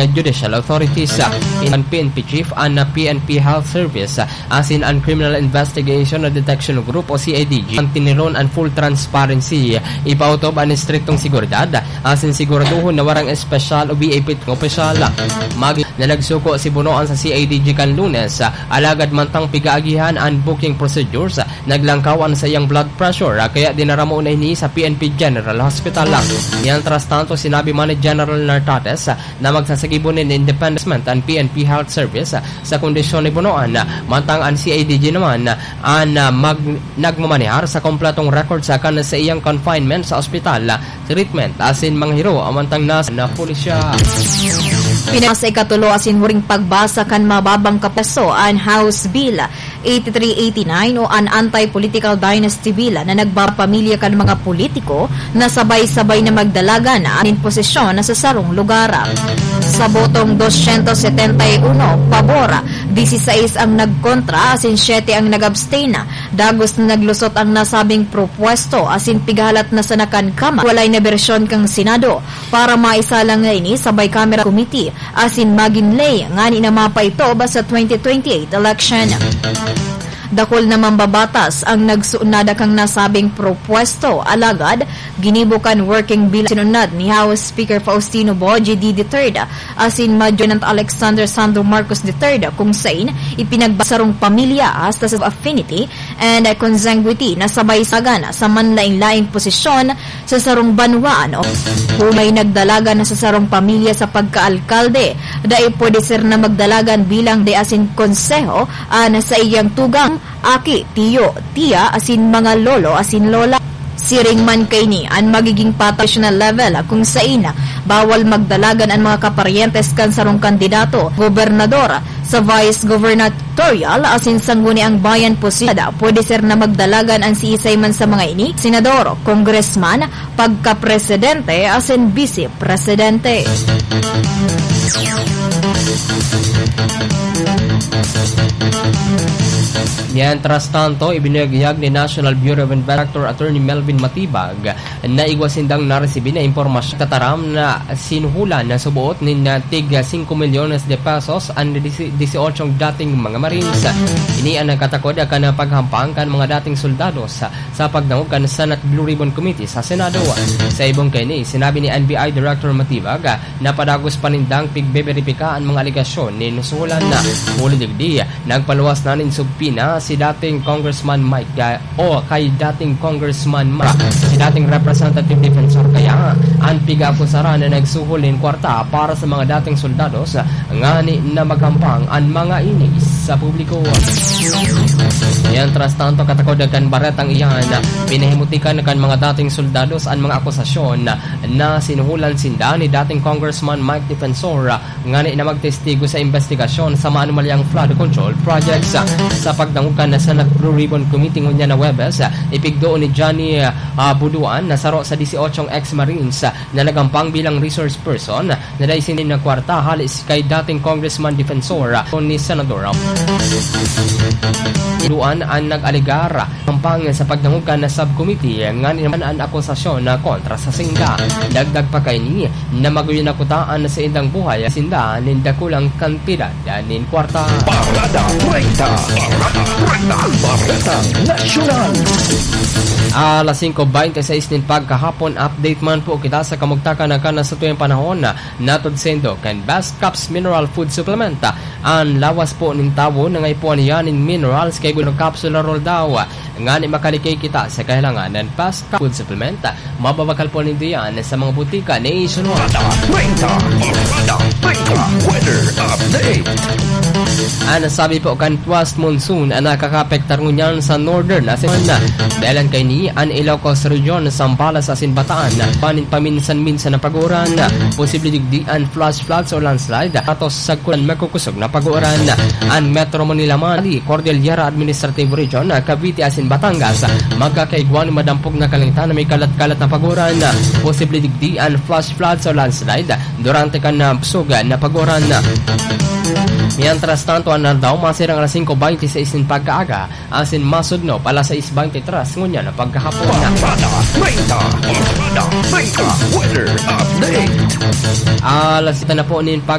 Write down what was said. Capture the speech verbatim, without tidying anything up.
judicial authorities, ah, in P N P chief an, ah, P N P Health Service, ah, asin an Criminal Investigation and Detection Group o C I D G, an tiniron an full transparency, ipautob an estriktong seguridad, asin siguraduhon na warang espesyal o V I P nga opisyal. Magi na nagsuko si Bonoan sa C I D G kan Lunes, ah, alagad mantang pigaagihan an booking procedures, ah, naglangkaw an saiyang blood pressure, ah, kaya dinara mo na ini sa P N P General Hospital. Mientras tanto, sinabi man ni General Nartates, ah, na magsasagibo nin independent assessment an P N P Health Service, ah, sa kondisyon ni Bonoan, ah, mantang an C I D G naman, ah, an, ah, mag-, nagmamanehar sa kompletong record sa kan sa iyang confinement sa ospital, ah, treatment, asin mga hiro, amantang nasa na pulisya. Pinasa ikatulo asin huring pagbasa kan mababang kapeso an House Bill eighty-three eighty-nine o an Anti-Political Dynasty Bill na nagbapamilya kan mga politiko na sabay-sabay na magdalagan an posisyon na sa sarong lugar. Sa botong dosyentos setenta y uno pabor, diseseis ang nagkontra asin siyete ang nag-abstain. Dagos na naglusot ang nasabing propuesto asin pigahalat na sana kan Kamara. Walay na bersyon kan Senado para maisalang na ini sa Bicameral Committee asin magin ley ngani na mapaitob sa twenty twenty-eight election. Dakul na mambabatas ang nagsuunada kan nasabing propuesto, alagad ginibo kan working bill sinunad ni House Speaker Faustino Boji D the third asin Majority Alexander Sandro Marcos the third, kung sain ipinagbasarong pamilya hasta sa affinity and consanguinity na sabay sagan sa manlain-laing posisyon sa sarong banwaan o kung may nagdalagan na sa sarong pamilya sa pagkaalkalde, dai pwede sira na magdalagan bilang de asin konseho, ah, na sa iyang tugang, aki, tiyo, tiya, asin mga lolo asin lola. Siring man kaini an magiging patay national level, kung sain bawal magdalagan an mga kaparyentes kan sarong kandidato, gobernador, sa vice gubernatorial asin Sangguniang Bayan posibilidad pwede sira na magdalagan an siisay man sa mga ini, senador, congressman, pagkapresidente asin bise presidente. Mientras tanto, ibinuyag-yag ni National Bureau of Investigation Director Attorney Melvin Matibag na igwa sindang naresibi na impormasyon tataram na sinuhulan na suboot nin, ah, tig singko milyones de pesos an disi-, dieciocho dating mga Marines. Ini ang nagkatakod kan paghampang kan mga dating soldados sa pagdangog kan Senate Blue Ribbon Committee sa Senado. Sa ibong kaini, sinabi ni N B I Director Matibag, ah, na padagos pa nindang pigbeberipika an mga alegasyon nin suhulan na. Huli digdi, nagpaluwas na nin subpoena si dating Congressman Mike, ah, o kay dating Congressman Mike, si dating Representative Defensor kaya an pig-aakusaran na nagsuhol nin kwarta para sa mga dating soldados, ah, ngani na maghampang an mga ini sa publiko. Mientras tanto, katakod kan baretang iyan, pinahimutikan kan mga dating soldados an mga akusasyon na sinuhulan sinda ni dating Congressman Mike Defensor, ngani na magtestigo sa imbestigasyon sa maanumalyang flood control projects. Sa pagdangog kan Senate Blue Ribbon Committee ngunyan na Huwebes, ipigdoon ni Johnny, ah, Buduan na saro sa dieciocho ex-Marines na naghampang bilang resource person na dai sinda kwarta hali si kay dating Congressman Defensor ni Senador Duan an nag-alegar. Pampang sa pagdangog kan subcommittee, ngani naman an akusasyon na kontra sa sinda. Dagdag pa kaini na magayon na kuta an saindang buhay sinda nin dakulang kantidad nin kwarta. Parada treinta. Parada treinta. Bareta Nasyonal. Alas singko bente seis nin pagkahapon, update man po kita sa kamugtakan na kan satuyang panahon. Natod saindo kan Best Caps Mineral Food Supplement. An lawas po nin tawo nangaipuhan niya nin minerals kay gulong capsule roll daw. Ngani makalikay kita sa kahilangan nin Best Caps Food Supplement, mababakal po nindo yan sa mga butika nationwide. Barada treinta, Barada treinta, weather update. An sabi po kan West Monsoon an nakakaapektar ngunyan sa northern asin dalan kaini an Ilocos Region, Zambales asin Bataan. Panin paminsan-minsan na paguran, posible digdi an flash floods o landslide. Atos sagkod an makukusog na paguran. An Metro Manila man, Cordillera Administrative Region, Cavite asin Batangas, magkakaigwa nin madampog na kalangitan na may kalat-kalat na paguran. Posible digdi an flash floods o landslide durante kan, ah, busog na paguran. Mientras tanto, an aldaw masirang alas singko bente seis nin pagkaaga, asin masudnop alas sais bente tres ngunyan na pagkahapon. Barada treinta, Barada treinta, weather update. Alas siyete na po nin pag-